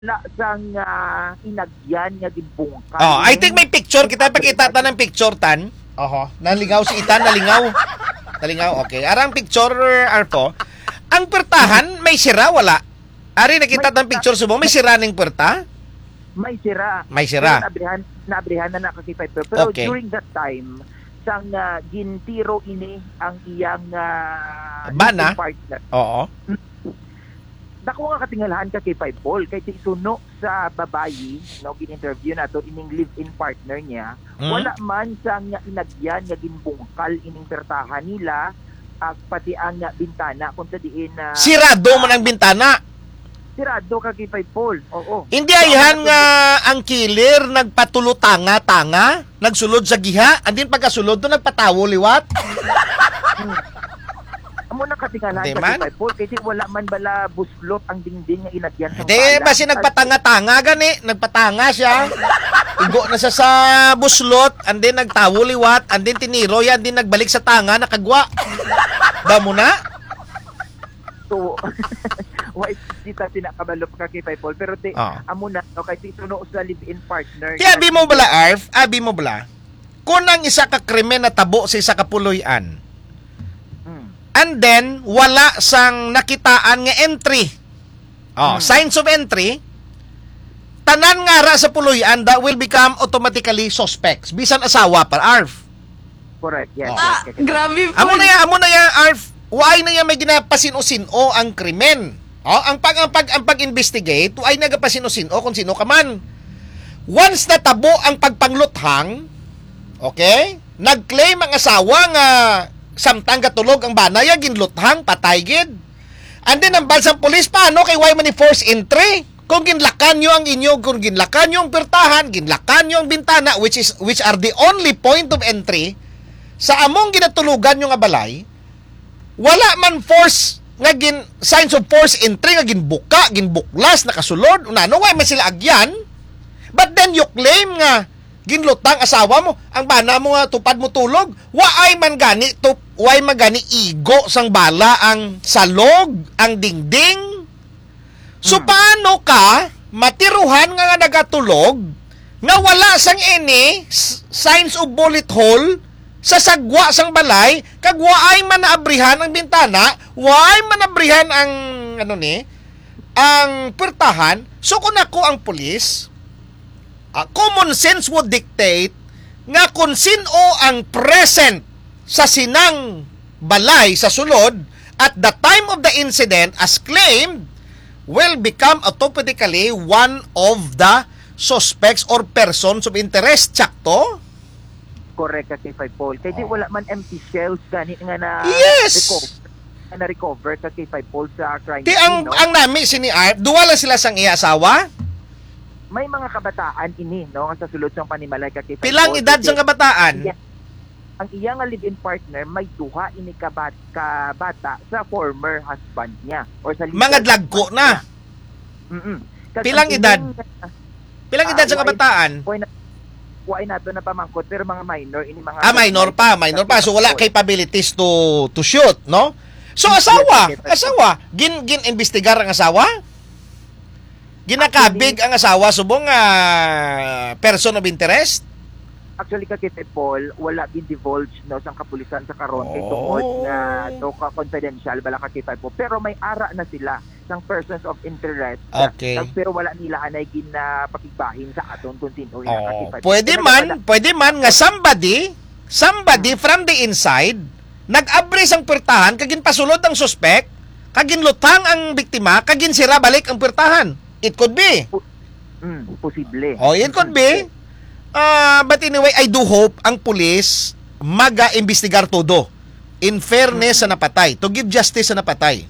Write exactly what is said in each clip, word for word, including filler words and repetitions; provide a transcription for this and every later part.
Wala sang, ah, inagyan nga ginbungkal. Oh, I think may picture kita. Pakita ta ng picture, Tan. Oho. Nalingaw si Itan, nalingaw. Nalingaw, okay. Arang picture, Arpo. Ang pertahan, may sira, wala? Ari, nakita May tang picture, subong. May sira ning perta? May sira. May sira. Pero naabrihan, naabrihan na na, Ka K five Pro. Pero Okay. during that time, sang, ah, gintiro ini ang iyang, ah, Bana? living partner. Oo. Dako nga katingalahan, Ka K five Paul, kay ti suno sa babayi, no, gin-interview nato ining live-in partner niya, Mm. wala man sang inagyan nga ginbungkal ining pertahan nila, ag pati ang, ah, bintana kung sa diin na Sirado man ang bintana. Sirado, Ka K five Paul. Oo. Hindi Sirado ayhan na nga ang killer nagpatulutanga-tanga, nagsulod sa giha, and then pagkasulod to nagpatawo liwat. Amo na katingala Hindi sa man. Ka K five Paul, kasi wala man bala buslot ang dingding nga inagyan sa Hindi, bala. Basi nagpatanga-tanga gani, nagpatanga siya. Igo na siya sa buslot, and then nagtawo liwat, and then tiniro yan, and then nagbalik sa tanga, nakagwa. Ba mo na? So, why kita tinakabalo pa, Ka K five Paul? Pero ti, Ah. amo na, no, kay ti suno sa live-in partner. Kaya abi mo bala, Arf? Abi mo bala? Kung ang isa ka krimen natabo sa isa ka puloy-an, Mm. and then, wala sang nakitaan nga entry. Oh, Mm. signs of entry, tanan nga ara sa puloy-an that will become automatically suspects. Bisan asawa pa, Arf. Correct, yes, Oh. yes, yes, yes. Grabe po. Amo na ya, amo na ya, Arf. Why na ya may ginapasin-o-sin-o ang krimen? Oh, ang pag, ang pag, ang pag-investigate, why nagapasino-sino kung sino ka man? Once natabo ang pagpangluthang, okay? Nag-claim ang asawa nga samtang gatulog ang bana, ya ginluthang, patay gid. And then, ang balsang pulis, paano kay why man ni force entry? Kung ginlakan nyo ang inyo, kung ginlakan nyo ang pirtahan, ginlakan nyo ang bintana, which is, which are the only point of entry sa among ginatulugan nyo nga balay, wala man force nga gin, signs of force entry nga ginbuka, ginbuklas, nakasulod, unano, why man sila agyan? But then you claim nga ginlutang asawa mo, ang bana mo nga tupad mo tulog, waay man gani to, why man gani igo sang bala ang salog, ang dingding? So, Hmm. paano ka matiruhan nga, nga nagatulog nga wala sang any s-, signs of bullet hole sa sagwa sang balay, kag waay man naabrihan ang bintana, waay man naabrihan ang, ano ni, ang pwertahan? So, kung ako ang pulis, ah, common sense would dictate nga kung sin-o ang present sa sinang balay sa sulod at the time of the incident as claimed will become automatically one of the suspects or persons of interest. Sakto? Correct, Ka K five Paul. Kay di Oh. wala man empty shells gani nga na Yes! reco-, nga na-recover, Ka K five Paul, sa crime Ti scene, ang, no? ang nami sini Art, duwa lang sila sang iya asawa? May mga kabataan ini, no, nga sa sulod sang panimalay, Ka K five Paul. Pilang edad sang kabataan? Iya, ang iya nga live-in partner, may duha ini ka bat-, ka bata sa former husband niya or sa legal Mga dlagko husband na. niya. Mm-mm. Kag Pilang ang edad? kining, Pilang ah, edad sa wa-, kabataan? wa-, wa-, nato na pamangkot, pero mga minor ini, mga Ah, minor pa, minor pa. So, wala capabilities to, to shoot, no? So, Yes, asawa, yes, yes. asawa, gin-, gin-imbestigar ang asawa? Ginakabig Actually, ang asawa, subong, ah, person of interest? Actually, Ka K five Paul, wala gin-divulge, no, sang kapulisan sa karon kay tungod Oh. nga, no, ka-, confidential bala, Ka K five Paul. Pero may ara na sila sang persons of interest. Okay. Kag, pero wala nila anay ginapakigbahin sa aton kung sino ina, Ka K five Paul. Oh. Pwede Pero man, nagpala- pwede man nga somebody, somebody Hmm. from the inside nag-abri sang pwertahan kag ginpasulod ang suspek, kag ginlutang ang biktima, kag ginsira balik ang pwertahan. It could be. Po-, mm, posible. Oh, it could be. Posible. Ah, but anyway, I do hope ang pulis maga-imbestigar todo. In fairness Mm. sa napatay, to give justice sa napatay.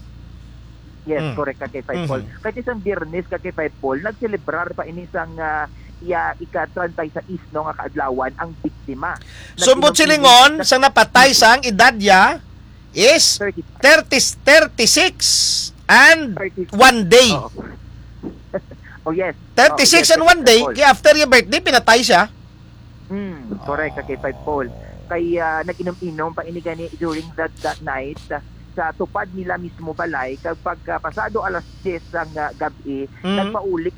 Yes, Mm. correct, Ka K five Paul. Mhm. Kay isang Biyernes, Ka K five Paul, nagselebrar pa ini sang, ah, iya ika-treinta y seis, no, nga kaadlawan ang biktima. Sumbot Nag-inom-inom silingon sa sa napatay sa ang edad niya is Thirty. thirty, thirty-six and Thirty. one day. Oo. Oh, yes. Thirty-six Oh, yes, and one day, Ka K five Paul. Kaya after your birthday, pinatay siya. Hmm, correct, Ka K five Paul. Kay, ah, nag-inom-inom pa ini gani during that, that night, ah, sa tupad nila mismo balay, kag pagka pasado alas diyes sang, ah, gab-i, Hmm. nagpauli